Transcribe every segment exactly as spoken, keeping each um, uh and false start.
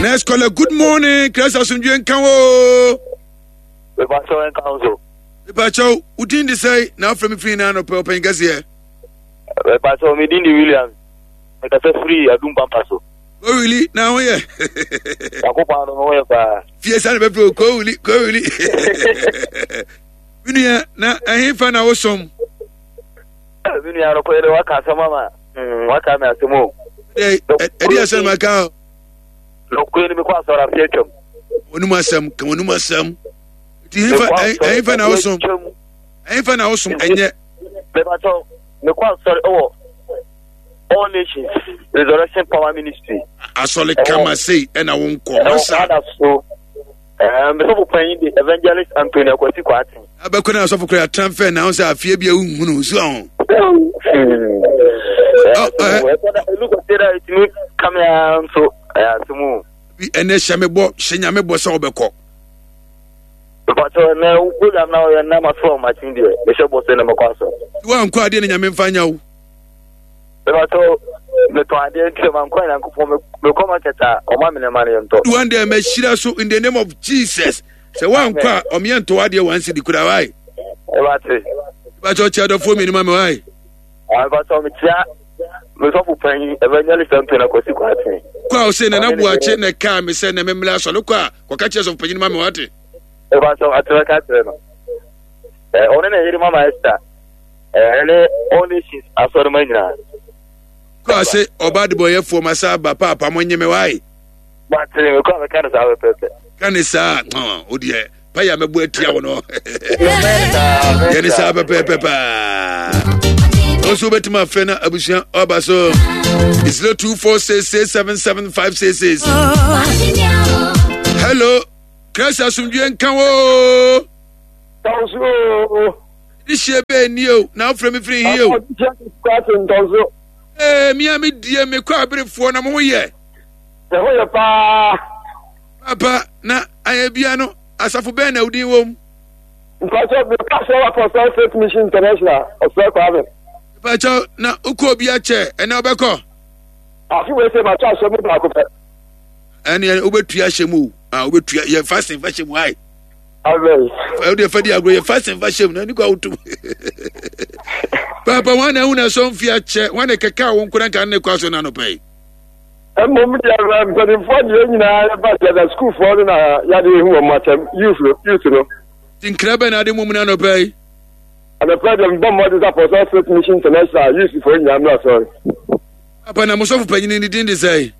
Next caller, good morning. Christ asomdwe nka wo. Mepakyɛw, nka wo so. Mepakyɛw, wo din de sɛn na afrɛ me firi na anɔpɛ, ɔpanyin kɛseɛ? Mepakyɛw, me din de William. Mekasa firi Adum Pampa so. Kowili, na ho yɛ? Nyankopɔn adom, ho yɛ paa. Fie sa na bɛfrɛ o, Kowili, Kowili. Me nua, na ɛhefa na wosom? Me nua, anɔpɛ yi de waka asɛm ama. Mm, waka me asɛm o. Ɛde asɛm aka o. Nokorɛ ni, mekɔ asɔre afe atwam. Wɔnum asɛm, ka wɔnum asɛm. Nti ɛhefa ɛhefa na wosom? Ɛhefa na wosom ɛnyɛ? Mepakyɛw, mekɔ asɔre ɛwɔ All Nations Resurrection Power Ministry. Asɔre kama sei ɛna wo nkɔ masa. Ɛwɔ so. Ɛɛ mesɔfo panyin de Evangelist Anthony Akwasi Kwarteng. Abɛkɔ na asɔfo kora transfer na sɛ afie bi a wohunu so aho. Ɛnu kɔsɛ dɛ ɛtumi kamea nso ɛyɛ asɛm o. Ɛnɛ hyɛ me bɔ, hyɛ Nyame bɔ sɛ wobɛkɔ. Mpakyɛ, ɛnɛ wo program na ɔyɛ nam aso a ɔmakye deɛ, mehyɛ bɔ sɛ na mɛkɔ asɔ. Woankɔ adeɛ ne Nyame mfa nya wo. Mepakyɛ, metɔn adeɛ nti sɛ mankɔ a, Nyankopɔn, mekɔ market a, ɔma me nneɛma no yɛntɔ. One day mɛhyira so in the name of Jesus. Sɛ woankɔ a, ɔmeyɛ ntɔ adeɛ one cedi kura wae. Ɛbate. Mepakyɛ, ɔkyɛ adɔfoɔ mmienu ma me wae. Mepakyɛ, mekyia mesɔfo panyin Evangelist Anthony Akwasi Kwarteng. Kɔ a ɔsɛ Nana Boakye na ɛkaa me sɛ na memmrɛ asɔre, kɔ a kɔka kyerɛ sɔfo panyin ma me wate. Mepakyɛ, atena ka kyerɛ no. Ɔne ne yere Mama Esther ɛne All Nations asɔrema nyinaa. Kɔ a sɛ ɔba adebɔyɛfoɔ ma sa aba paapa mo nye me wae. Mate, mekɔ a mɛka no saa pɛpɛpɛ. Ka ne saa, o deɛ payɛ a mɛbɔ atia wo no. Yɛne saa pɛpɛɛpɛ paa. Wo nso wobɛtumi afrɛ no abusua ɔba so zero two four six six seven seven five six six. Hello, Christ asomdwe nka wo. Tɔnso. De hyɛ bɛɛ ni o, na wofrɛ me firi hi o? Tɔnso. Ee, mia me die mekɔ aberefoɔ na mo ho yɛ? Ɛho yɛ paa. Papa, na ayɛ bia no, asafo bɛn na wodin wom? Mpakyɛ, meka sɛ Apostolic Faith Mission International, Ɔsrɛ Kwame. Mpakyɛ, na wokɔ obi akyɛ, ɛnɛ wobɛkɔ? Afe wei sɛ makyɛ ahyɛ mu baako pɛ. Ɛne wobɛtua ahyɛ mu o. Ah, wobɛtua yɛ fasting fa hyɛ mu ae. Amen. Wode fa di agorɔ, yɛ fasting fa hyɛ mu na ani kɔ awotom. Papa, wọn na ehu na ɛsɔ mfi akyɛ, wọn na kɛkɛ a wɔn nkora nka ne kɔ aso na anɔpɛ yi. Mmom deɛ, mpanimfoɔ deɛ nyinaa yɛba deɛ, na sukuufoɔ no na yɛade ehu wɔn akyɛm, youth no youth no. Nkira bɛn na ade mu mu na anɔpɛ yi? Anɔpɛ deɛ, mbɔ mmɔden sɛ Apostolic Faith Mission International youthfoɔ nyinaa mmra sɔre. Papa, na mosɔfo panyin ne din de sɛn?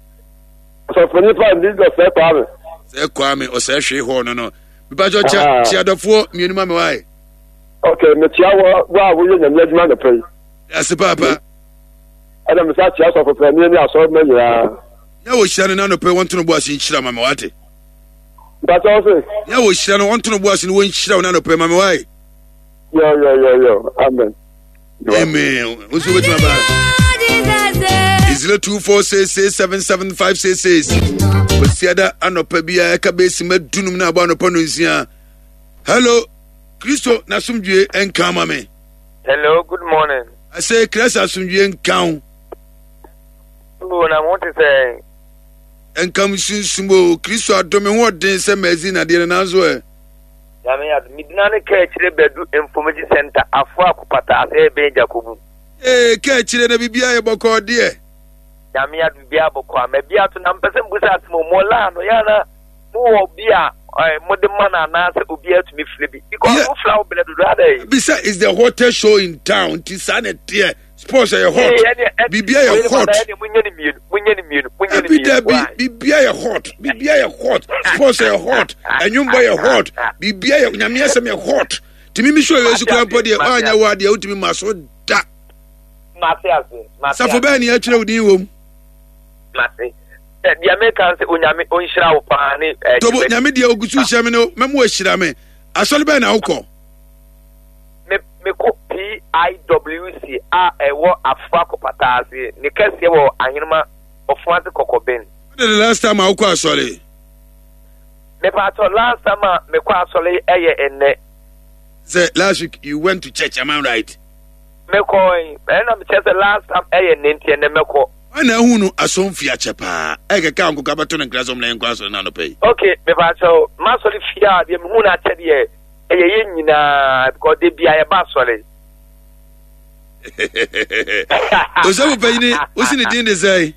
Ɔsɔfo panyin pa ne din Ɔsɛ Kwame. Sɛ Kwame ɔsɛ hwee hɔ no no. Mepakyɛ, kyɛ kyeadɔfoɔ mmienu ma me wae. Ok, mekyia wɔ wo a woyɛ Nyame adwuma anɔpɛ yi. Ase paapa. Ɛna mesa kyia sɔfo panyin ne asɔrema nyinaa. Nyɛ wɔ hyira no n'anɔpɛ, wɔnto no bo ase nhyira ma me wate. Mpakyɛ, wo se? Nyɛ wɔ hyira no, wɔnto no bo ase no wɔnhyira wo n'anɔpɛ ma me wae. Yo yo yo yo, amen. Amen. Wo nso wobɛtumi aba zero two four six six seven seven five six six. Kwasiada anɔpa biara ɛka bɛsi ma dunum no abɔ anɔpa no nsia. Hello, Kristo n'asomdwie nka ma me. Hello, good morning. Ase Christ asomdwie nka wo. Oh, na mo te sɛ? Nkam sunsum o, Kristo adome ho ɔden sɛ mazi nadeɛ no nanso ɛ. Nyame adom. Medina ne kaa akyire bɛdu Information Center afo akopata ase ɛbɛn Jakobu. Ee, kaa akyire na biribiara yɛ bɔkɔɔ deɛ. Nyame adom, biribiara bɔkɔɔ ama bi ato na mpɛ sɛ mbusa asɛm o, mo laa no yɛ ana mowɔ bi a mode ma no anaasɛ obiara tumi frɛ bi? Because yeah, wofra wo berɛ dodo ada yi. Bisa is the hottest show in town, nti saa na ɛteɛ. Sports ɛyɛ hot, biribiara yɛ hot. Dabi dabi, biribiara yɛ hot, biribiara yɛ hot. Sports ɛyɛ hot, ɛnwombɔ yɛ hot, biribiara yɛ Nyame asɛm yɛ hot. Tìmí mi sọ yɛ sukuu mpɔ deɛ ɔanyɛ wɔ adeɛ wotumi ma so da. Safo bɛɛ ni ɛtwerɛ wo din wɔ mu. Deɛ meka sɛ Onyame ɔnhyira wo paa ne. Tobo Nyame deɛ ogu so hyɛ me no mɛmo ahyira me. Asɔre bɛɛ na wokɔ? Mekɔ P I W C a ɛwɔ Afoa Kɔpataa ase, ne kɛseɛ wɔ Ahenema Ɔfoase Kɔkɔben. When the last time a wokɔ asɔre? Mepatɔ, last time a mekɔ asɔre ɛyɛ ɛnnɛ. Sɛ last week you went to church, am I right? Mekɔ, ɛna mekyerɛ sɛ last time ɛyɛ nnɛ, nti ɛnnɛ mɛkɔ. Wọn na ehu no asɔnfi akyɛ paa. Ɛkɛkɛ a nkokɔ abɛto ne nkra sɛ ɔmo na yɛnkɔ asɔre no anɔpa yi. Okay, mepakyɛw, m'asɔre fie a deɛ mehu no akyɛ deɛ ɛyɛ yɛn nyinaa because de bia yɛba asɔre. Osɔfo panyini, wosi ne din de sɛn?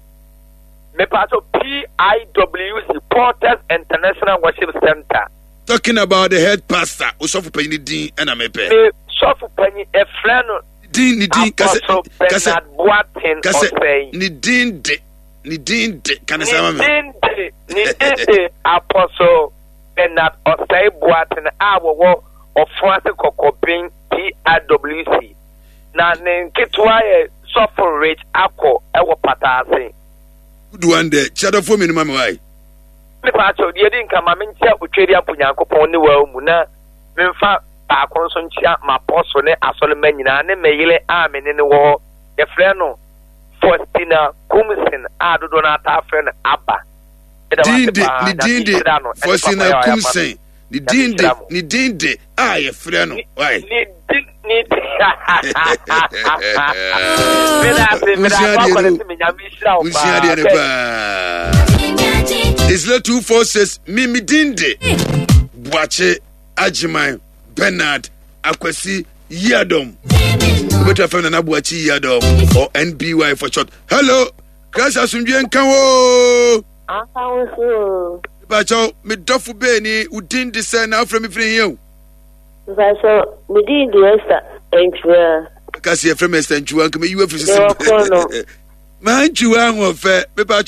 Mepakyɛw, P I W C, Porters International Worship Center. Talking about the head pastor, osɔfo panyini din ɛna mepɛ. Me sɔfo panyin ɛfrɛ no Din ne din kasɛ Apostle kasɛ Bernard Boateng kasɛ Osei. Ne din de ne din de kane Ne saa ma me. din de ne din de Apostle Bernard Osei Boateng a wɔwɔ Ɔfoase Kɔkɔben P I W C. Na ne nketewa yɛ Sɔfo Rich Akɔ ɛwɔ Pataase. Good one there. Kyerɛdɔfoɔ mmienu ma me wae. Mepa akyɛw, deɛ di nka ma menkyia Otweri Ampo Nyankopɔn ne waa mu, na memfa baako nso nkyia m'apɔso ne asɔremma nyinaa ne me yere a me ne no wɔ hɔ, yɛfrɛ no Faustina Kumsin a dodoɔ no ataa frɛ no Aba. Meda wo Din ase de paa. Ne Nyame din de nhyira no ɛne papa Faustina yɛ a ɔyɛ ama me. Kumsen. Ne Nyame din de nhyira mo. Ne din de a yɛfrɛ no wae. Ne din ne din meda ase, meda Wosua ase adeɛ akɔ ne no se me Nyame nhyira wo wosua paa. adeɛ no Bɛ- paa. It's zero two four six. Me me din de Boakye Agyeman Bernard Akwasi Yiadom. Wobɛtumi afrɛ Nana Boakye Yiadom or N B Y for short. Hello, Christ asomdwe nka wo. Aka wo so. Mepakyɛw, me dɔfo beeni, wo din de sɛ na wofrɛ me firi hia o? Mpakyɛw, me din de Esther Antwua. Ka sɛ yɛfrɛ me Esther Ntwiwa nka meyi wafiri Mewɔ sisi Korɔ no. Mantwiwa ahoɔfɛ mepakyɛw.